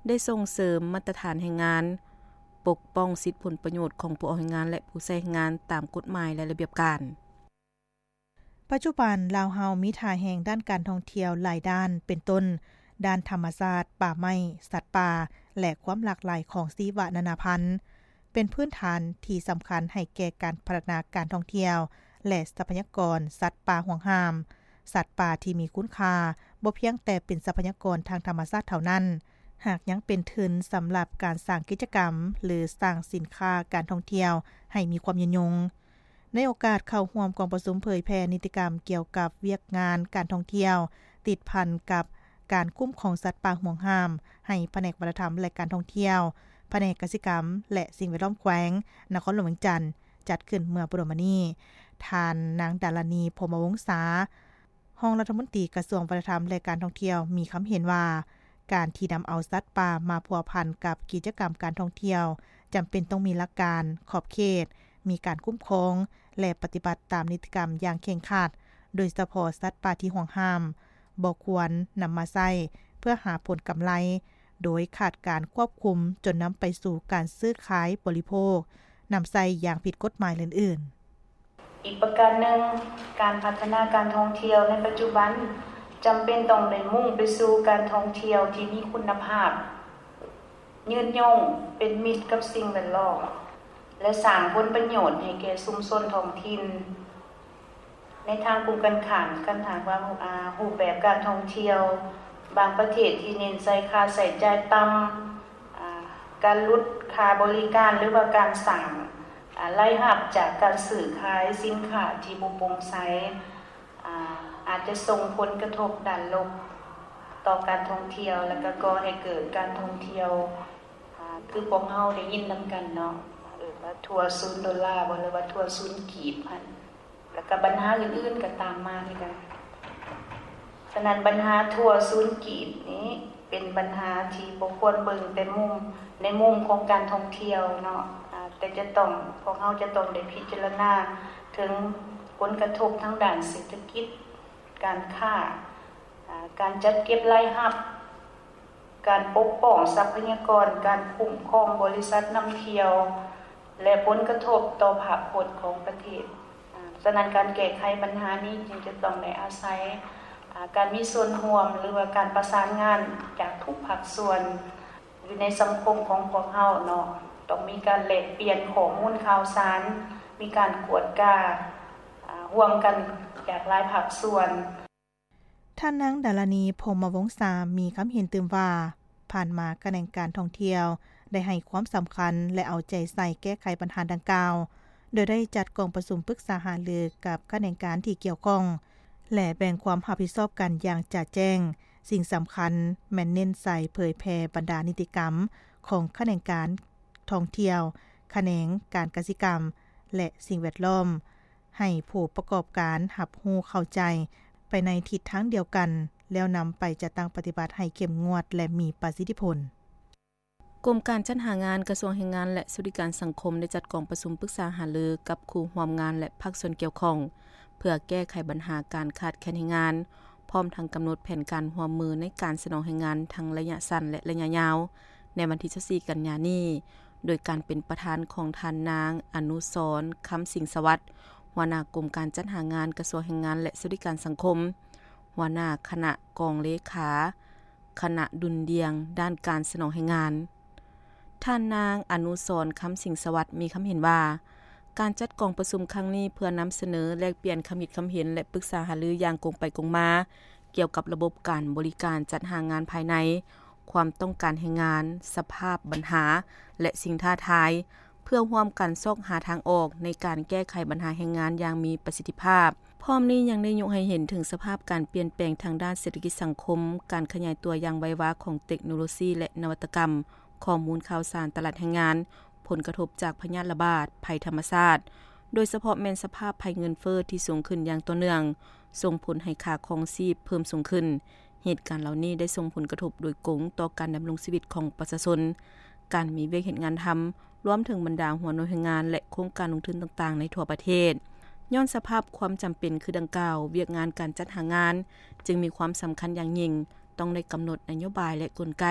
ໄດ້ສົ່ງເສີມມາດຕະຖານແຮງງານ, ປົກປ້ອງສິດຜົນປະໂຫຍດຂອງຜູ້ອອກແຮງງານ ແລະ ຜູ້ໃຊ້ແຮງງານຕາມກົດໝາຍ ແລະ ລະບຽບການ. ປັດຈຸບັນ ລາວເຮົາມີທ່າແຮງດ້ານການທ່ອງທ່ຽວຫຼາຍດ້ານ ເປັນຕົ້ນ ດ້ານທຳມະຊາດ, ປ່າໄມ້, ສັດປ່າ ແລະ ຄວາມຫຼາກຫຼາຍຂອງຊີວະນານາພັນ ເປັນພື້ນຖານທີ່ສຳຄັນໃຫ້ແກ່ການພັດທະນາການທ່ອງທ່ຽວ ແລະ ຊັບພະຍາກອນສັດປ່າຫວງຫ້າມ. ສັດປ່າທີ່ມີຄຸນຄ່າບໍ່ພຽງແຕ່ເປັນຊັບພະຍາກອນທາງທຳມະຊາດເທົ່ານັ້ນ, ຫາກຍັງເປັນທຶນສຳລັບການສ້າງກິດຈະກຳ ຫຼື ສ້າງສິນຄ້າການທ່ອງທ່ຽວໃຫ້ມີຄວາມຍືນຍົງ. ໃນໂອກາດເຂົ້າຮ່ວມກອງປະຊຸມເຜີຍແຜ່ນິຕິກຳກ່ຽວກັບວຽກງານການທ່ອງທ່ຽວ ຕິດພັນກັບການຄຸ້ມຄອງສັດປ່າຫວງຫ້າມ ໃຫ້ພະແນກວັດທະນະທຳ ແລະ ການທ່ອງທ່ຽວ, ພະແນກກະສິກຳ ແລະ ສິ່ງແວດລ້ອມແຂວງນະຄອນຫຼວງວຽງຈັນ ຈັດຂຶ້ນເມື່ອບໍ່ດົນມານີ້, ທ່ານນາງ ດາລານີ ພົມມະວົງສາ ຮອງລັດຖະມົນຕີກະຊວງວັດທະນະທຳ ແລະ ການທ່ອງທ່ຽວ ມີຄຳເຫັນວ່າ ການທີ່ນຳເອົາສັດປ່າມາພົວພັນກັບກິດຈະກຳການທ່ອງທ່ຽວ ຈຳເປັນຕ້ອງມີຫຼັກການ, ຂອບເຂດ, ມີການຄຸ້ມຄອງ ແລະ ປະຕິບັດຕາມນິຕິກຳຢ່າງເຄັ່ງຄັດ, ໂດຍສະເພາະສັດປ່າທີ່ຫວງຫ້າມ ບໍ່ຄວນນຳມາໃຊ້ເພື່ອຫາຜົນກຳໄລ ໂດຍຂາດການຄວບຄຸມ ຈົນນຳໄປສູ່ການຊື້ຂາຍບໍລິໂພກ, ນຳໃຊ້ຢ່າງຜິດກົດໝາຍ ແລະ ອື່ນໆ. ອີກປະການໜຶ່ງ, ການພັດທະນາການທ່ອງທ່ຽວໃນປັດຈຸບັນ ຈຳເປັນຕ້ອງໄດ້ມຸ່ງໄປສູ່ການທ່ອງທ່ຽວທີ່ມີຄຸນນະພາບ, ຍືນຍົງ, ເປັນມິດກັບສິ່ງແວດລ້ອມ ແລະ ສ້າງຜົນປະໂຫຍດໃຫ້ແກ່ຊຸມຊົນທ້ອງຖິ່ນ. ໃນທາງກົງກັນຂ້າມ, ຄັນຫາກວ່າ ອາ, ຮູບແບບການທ່ອງທ່ຽວບາງປະເທດທີ່ເນັ້ນໃສ່ຄ່າໃຊ້ຈ່າຍຕ່ຳ, ອາ, ການຫຼຸດຄ່າບໍລິການ ຫຼືວ່າການສ້າງ, ອາ, ລາຍຮັບຈາກການຊື້ຂາຍສິນຄ້າທີ່ບໍ່ໂປ່ງໃສ, ອາ, ອາດຈະສົ່ງຜົນກະທົບດ້ານລົບຕໍ່ການທ່ອງທ່ຽວ ແລະ ກໍກໍ່ໃຫ້ເກີດການທ່ອງທ່ຽວ, ອາ, ຄືພວກເຮົາໄດ້ຍິນນຳກັນເນາະ, ເອີ້ນວ່າທົວສູນໂດລາບໍ ຫຼືວ່າທົວສູນກີບຫັ້ນ. ແລ້ວກໍບັນຫາອື່ນໆກໍຕາມມາຄືກັນ. ສະນັ້ນບັນຫາທົວສູນກີບນີ້ເປັນບັນຫາທີ່ບໍ່ຄວນເບິ່ງແຕ່ມຸມ ໃນມຸມຂອງການທ່ອງທ່ຽວເນາະ, ອາ, ແຕ່ຈະຕ້ອງ, ພວກເຮົາຈະຕ້ອງໄດ້ພິຈາລະນາເຖິງຜົນກະທົບທາງດ້ານເສດຖະກິດ, ການຄ້າ, ອາ, ການຈັດເກັບລາຍຮັບ, ການປົກປ້ອງຊັບພະຍາກອນ, ການຄຸ້ມຄອງບໍລິສັດນຳທ່ຽວ ແລະ ຜົນກະທົບຕໍ່ພາບພົດຂອງປະເທດ. ອາ, ສະນັ້ນການແກ້ໄຂບັນຫານີ້ຈຶ່ງຈະຕ້ອງໄດ້ອາໄສ, ອາ, ການມີສ່ວນຮ່ວມ ຫຼືວ່າການປະສານງານຈາກທຸກພາກສ່ວນຢູ່ໃນສັງຄົມຂອງພວກເຮົາເນາະ, ຕ້ອງມີການແລກປ່ຽນຂໍ້ມູນຂ່າວສານ, ມີການກວດກາ, ອາ, ຮ່ວມກັນຈາກຫຼາຍພາກສ່ວນ. ທ່ານນາງ ດາລານີ ພົມມະວົງສາ ມີຄຳເຫັນຕື່ມວ່າ, ຜ່ານມາຂະແໜງການທ່ອງທ່ຽວໄດ້ໃຫ້ຄວາມສຳຄັນ ແລະ ເອົາໃຈໃສ່ແກ້ໄຂບັນຫາດັ່ງກ່າວ, ໂດຍໄດ້ຈັດກອງປະຊຸມປຶກສາຫາລືກັບຂະແໜງການທີ່ກ່ຽວຂ້ອງ ແລະ ແບ່ງຄວາມຮັບຜິດຊອບກັນຢ່າງຈະແຈ້ງ. ສິ່ງສຳຄັນແມ່ນເນັ້ນໃສ່ເຜີຍແຜ່ບັນດານິຕິກຳຂອງຂະແໜງການທ່ອງທ່ຽວ, ຂະແໜງການກະສິກຳ ແລະ ສິ່ງແວດລ້ອມ. ໃຫ້ຜູ້ປະກອບການຮັບຮູ້ເຂົ້າໃຈໄປໃນທິດທາງດຽວກັນ, ແລ້ວນຳໄປຈັດຕັ້ງປະຕິບັດໃຫ້ເຂັ້ມງວດ ແລະ ມີປະສິດທິຜົນ. ກົມການຈັດຫາງານ ກະຊວງແຮງງານ ແລະ ສະຫວັດດີການສັງຄົມ ໄດ້ຈັດກອງປະຊຸມປຶກສາຫາລືກັບຄູ່ຮ່ວມງານ ແລະ ພາກສ່ວນກ່ຽວຂ້ອງ ເພື່ອແກ້ໄຂບັນຫາການຂາດແຄນແຮງງານ, ພ້ອມທັງກຳນົດແຜນການຮ່ວມມືໃນການສະໜອງແຮງງານທັງໄລຍະສັ້ນ ແລະ ໄລຍະຍາວ ໃນວັນທີຊາວສີ່ກັນຍານີ້ ໂດຍການເປັນປະທານຂອງທ່ານນາງ ອະນຸສອນ ຄຳສິງສະຫວັດ ຫົວໜ້າກົມການຈັດຫາງານ ກະຊວງແຮງງານ ແລະ ສະຫວັດດີການສັງຄົມ, ຫົວໜ້າຄະນະກອງເລຂາ ຄະນະດຸ່ນດ່ຽງດ້ານການສະໜອງແຮງງານ. ທ່ານນາງ ອະນຸສອນ ຄຳສິງສະຫວັດ ມີຄຳເຫັນວ່າ, ການຈັດກອງປະຊຸມຄັ້ງນີ້ເພື່ອນຳສະເໜີ, ແລກປ່ຽນຄຳຄິດຄຳເຫັນ ແລະ ປຶກສາຫາລືຢ່າງກົງໄປກົງມາ ກ່ຽວກັບລະບົບການບໍລິການຈັດຫາງານພາຍໃນ, ຄວາມຕ້ອງການແຮງງານ, ສະພາບບັນຫາ ແລະ ສິ່ງທ້າທາຍ, ເພື່ອຮ່ວມກັນຊອກຫາທາງອອກໃນການແກ້ໄຂບັນຫາແຮງງານຢ່າງມີປະສິດທິພາບ. ພ້ອມນີ້ຍັງໄດ້ຍົກໃຫ້ເຫັນເຖິງສະພາບການປ່ຽນແປງທາງດ້ານເສດຖະກິດສັງຄົມ, ການຂະຫຍາຍຕົວຢ່າງໄວວາຂອງເຕັກໂນໂລຊີ ແລະ ນະວັດຕະກຳ, ຂໍ້ມູນຂ່າວສານຕະຫຼາດແຮງງານ, ຜົນກະທົບຈາກພະຍາດລະບາດ, ໄພທຳມະຊາດ, ໂດຍສະເພາະແມ່ນສະພາບໄພເງິນເຟີ້ທີ່ສູງຂຶ້ນຢ່າງຕໍ່ເນື່ອງ, ສົ່ງຜົນໃຫ້ຄ່າຄອງຊີບເພີ່ມສູງຂຶ້ນ. ເຫດການເຫຼົ່ານີ້ໄດ້ສົ່ງຜົນກະທົບໂດຍກົງຕໍ່ການດຳລົງຊີວິດຂອງປະຊາຊົນ, ການມີວຽກເຮັດງານທຳ, ລວມເຖິງບັນດາຫົວໜ່ວຍແຮງງານ ແລະ ໂຄງການລົງທຶນຕ່າງໆໃນທົ່ວປະເທດ. ຍ້ອນສະພາບຄວາມຈຳເປັນຄືດັ່ງກ່າວ, ວຽກງານການຈັດຫາງານຈຶ່ງມີຄວາມສຳຄັນຢ່າງຍິ່ງ, ຕ້ອງໄດ້ກຳນົດນະໂຍບາຍ ແລະ ກົນໄກ